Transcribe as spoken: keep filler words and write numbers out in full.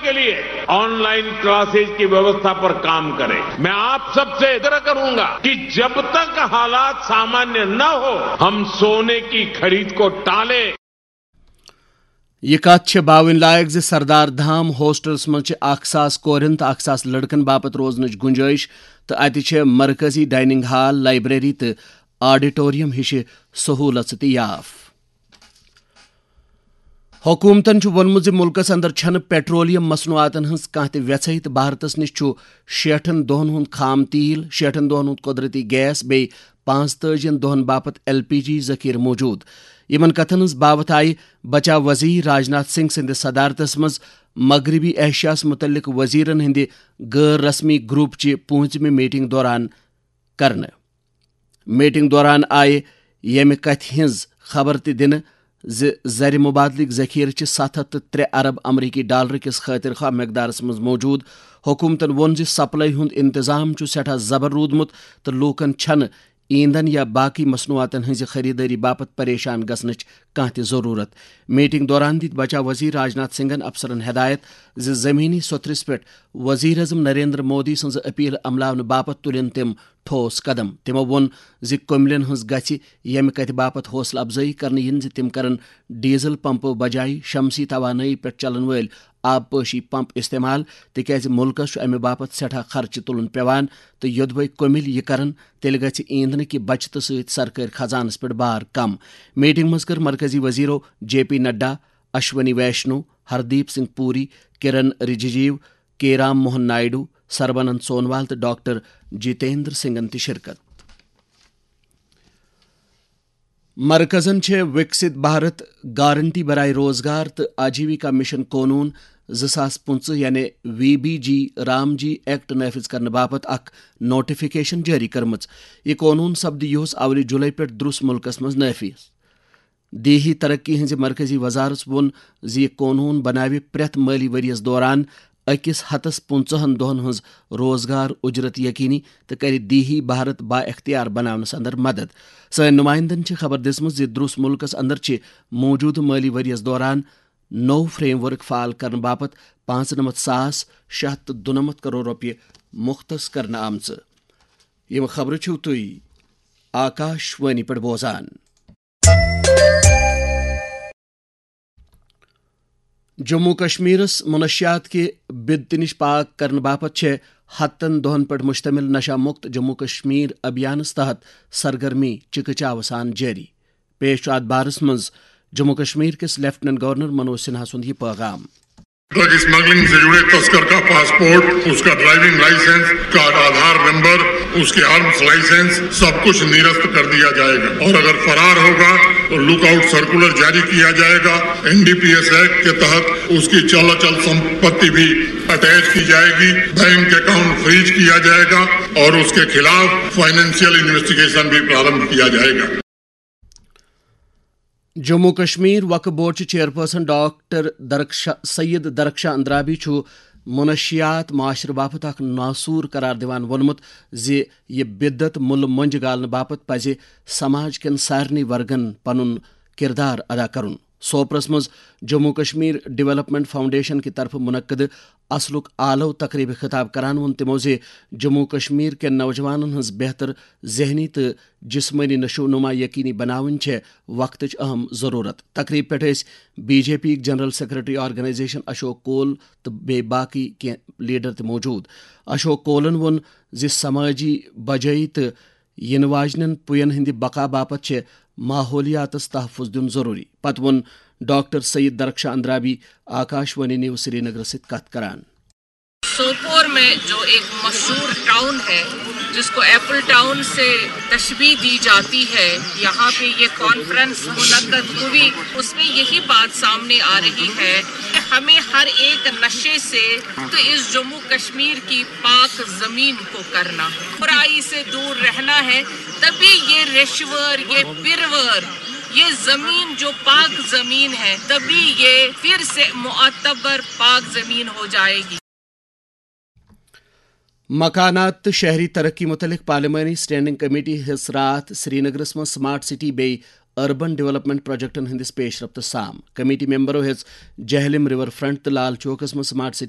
के लिए online classes की व्यवस्था पर काम करें। मैं आप सबसे आग्रह करूंगा कि जब तक हालात सामान्य न हो, हम सोने की खरीद को टालें। یہ کتھ چھےٚ باوٕنۍ لایق زِ سردار دھام ہوسٹلس منٛز چھِ اکھ ساس کورٮ۪ن تہٕ اکھ ساس لڑکن باپتھ روزنٕچ گُنجٲیِش، تہٕ اتہِ چھےٚ مرکزی ڈائننگ ہال، لائبریری تہٕ آڈیٹوریم ہِشہِ سہوٗلژٕ تہِ یاف۔ حکوٗمتَن چھُ ووٚنمُت زِ مُلکَس اندر چھَنہٕ پیٹرولیم مصنوعاتَن ہٕنٛز کانٛہہ تہِ وٮ۪ژھٕے، تہٕ بھارتَس نِش چھُ شیٹھن دۄہَن ہُنٛد خام تیٖل، شیٹھن دۄہَن ہُنٛد قۄدرٔتی گیس، بیٚیہِ پانٛژتٲجِین دۄہَن باپتھ ایل پی جی ذخیرٕ موٗجوٗد۔ یِمَن کَتھَن ہٕنٛز باوَتھ آیہِ بچاو وزیر راجناتھ سنگھ سٕنٛدِ صدارتَس منٛز مغربی ایشیاہَس مُتعلِق وزیرَن ہٕنٛدِ غٲر رسمی گروپ چہِ پوٗنٛژمہِ میٹنگ دوران کرنہٕ۔ میٹنگ دوران آیہِ ییٚمہِ کتھِ ہٕنٛز خبر تہِ دِنہٕ زِ زر مبادلٕکۍ ذخیرٕ چھِ ستھ ہتھ تہٕ ترٛےٚ ارب امریکی ڈالر کِس خٲطر خواہ مقدارس منٛز موجود۔ حکومتن ووٚن زِ سپلائی ہُنٛد انتظام چھُ سٮ۪ٹھاہ زبر روٗدمُت تہٕ لوٗکن چھنہٕ ایندھن یا باقی مصنوعاتن ہٕنٛزِ خریدٲری باپتھ پریشان گژھنٕچ کانٛہہ تہِ ضروٗرت۔ میٹنگ دوران دِتۍ بچاو وزیر راجناتھ سنگھن افسرن ہدایت زِ زمینی سوٚتھرِس پٮ۪ٹھ وزیر اعظم نریندر مودی سٕنٛز اپیل عملاونہٕ باپتھ تُلن تِم ٹھوس قدم۔ تِمو ووٚن زِ کٔملٮ۪ن ہٕنٛز گژھِ ییٚمہِ کتھِ باپتھ حوصلہٕ افزٲیی کرنہٕ یِنۍ زِ تِم کرن ڈیزل پمپو بجایہِ شمسی توانٲیی پٮ۪ٹھ چلن وٲلۍ آبپاشی پمپ استعمال، تِکیازِ مُلکَس چھُ امہِ باپتھ سٮ۪ٹھاہ خرچہٕ تُلُن پٮ۪وان تہٕ یوٚدوَے کٔمِلۍ یہِ کرن، تیٚلہِ گژھِ ایندھنہٕ کہِ بچتہٕ سۭتۍ سرکٲرۍ خزانَس پٮ۪ٹھ بار کم۔ میٹنگ منٛز کٔر مرکزی وزیرو جے پی نڈا، اشونی ویشنو، ہردیپ سنگھ پوری، کرن رجیجیو، کے رام موہن نائیڈو، سربانند سونوال تہٕ ڈاکٹر جتیندر سنگھن تہِ شرکت۔ مرکزن چھےٚ وکست بھارت گارنٹی برائے روزگار تہٕ آجیوکا مشن قونوٗن زٕ ساس پٕنٛژٕہ یعنی وی بی جی رام جی ایکٹ نافذ کرنہٕ باپتھ اکھ نوٹیفکیشن جٲری کٔرمٕژ۔ یہِ قونوٗن سپدِ یِہُس اولہِ جُلے پٮ۪ٹھ درُس مُلکس منٛز نافذ۔ دیہی ترقی ہٕنٛزِ مرکزی وزارت ووٚن زِ یہِ قونوٗن بناوِ پرٛٮ۪تھ مٲلی ؤرۍ یَس دوران أکِس ہتس پٕنٛژٕہن دۄہَن ہٕنٛز روزگار اُجرت یقینی تہٕ کَرِ دیہی بھارت با اختیار بناونَس اندر مدد۔ سٲنۍ نمائندن چھِ خبر دِژمٕژ زِ درُس مُلکَس اندر چھِ موٗجوٗدٕ مٲلی ؤرۍ یَس دوران نوٚو فریم ورک فعال کرنہٕ باپتھ پانٛژنمتھ ساس شےٚ ہتھ تہٕ دُنمتھ کرور رۄپیہِ مختص کرنہٕ آمژٕ۔ یِم خبرٕ چھِو تُہۍ آکاش وانی پٮ۪ٹھ بوزان۔ جموں کشمیرس منشیات کہِ بدتہِ نِش پاک کرنہٕ باپتھ چھےٚ ہتن دۄہن پٮ۪ٹھ مشتمل نشہ مکت جموں کشمیر ابھیانس تحت سرگرمی چکہ چاوٕ سان جٲری۔ پیش چھُ اتھ بارس منٛز جموں کشمیر کِس لیفٹیننٹ گورنر منوج سنہا سُنٛد یہِ پیغام۔ ڈرگ اسمگلنگ سے جڑے تسکر کا پاسپورٹ، اس کا ڈرائیونگ لائسنس، اس کا آدھار نمبر، اس کے آرمز لائسنس، سب کچھ نرست کر دیا جائے گا اور اگر فرار ہوگا تو لک آؤٹ سرکولر جاری کیا جائے گا۔ N D P S act کے تحت اس کی چل اچل سمپتی بھی اٹیچ کی جائے گی۔ بینک اکاؤنٹ فریز کیا جائے گا اور اس کے خلاف فائنینشیل انویسٹیگیشن بھی پرارمبھ کیا جائے گا۔ جموں کشمیر وقف بورڈ چہِ چیئرپرسن ڈاکٹر درخشا سید درخشا اندرابی چھُ منشیات معاشرٕ باپتھ اکھ ناسور قرار دِوان ووٚنمُت زِ یہِ بدعت مُلہٕ مۄنجہِ گالنہٕ باپتھ پزِ سماج کٮ۪ن سارنٕے ورگن پنُن کردار ادا کرُن۔ سوپرس منٛز جموں کشمیر ڈیولپمنٹ فاؤنڈیشن کہِ طرفہٕ منعقدٕ اصلُک آلو تقریبہِ خطاب کران ووٚن تِمو زِ جموں کشمیر کٮ۪ن نوجوانن ہٕنٛز بہتر ذہنی تہٕ جسمٲنی نشو نما یقینی بناوٕنۍ چھےٚ وقتٕچ اہم ضروٗرت۔ تقریب پٮ۪ٹھ ٲسۍ بی جے پی یِکۍ جنرل سیکرٹری آرگنائزیشن اشوک کول تہٕ بیٚیہِ باقٕے کینٛہہ لیڈر تہِ موجود۔ اشوک کولن ووٚن زِ سمٲجی بجٲیی تہٕ یِنہٕ واجنٮ۪ن پُین ہٕنٛدِ بقا باپتھ چھےٚ ماحولیاتس تحفظ دیُن ضروٗری۔ پتہٕ ووٚن ڈاکٹر سید درخشاں اندرابی آکاش وانی نیوز سرینگرس سۭتۍ کتھ کران۔ سوپور میں جو ایک مشہور ٹاؤن ہے جس کو ایپل ٹاؤن سے تشبیہ دی جاتی ہے، یہاں پہ یہ کانفرنس منعقد ہوئی، اس میں یہی بات سامنے آ رہی ہے کہ ہمیں ہر ایک نشے سے تو اس جموں کشمیر کی پاک زمین کو کرنا ہے، برائی سے دور رہنا ہے، تبھی یہ رشور، یہ پرور، یہ زمین جو پاک زمین ہے، تبھی یہ پھر سے معتبر پاک زمین ہو جائے گی۔ مکانات تہٕ شہری ترقی متعلق پارلیمانی اسٹینڈنگ کمیٹی ہیٚژ راتھ سرینگرس منٛز سمارٹ سٹی بیٚیہِ اربن ڈیولپمنٹ پروجیکٹن ہٕنٛدِس پیش رفتس سام۔ کمیٹی ممبرو ہیٚژ جہلم ریور فرنٹ تہٕ لال چوکس منٛز سمارٹ سٹی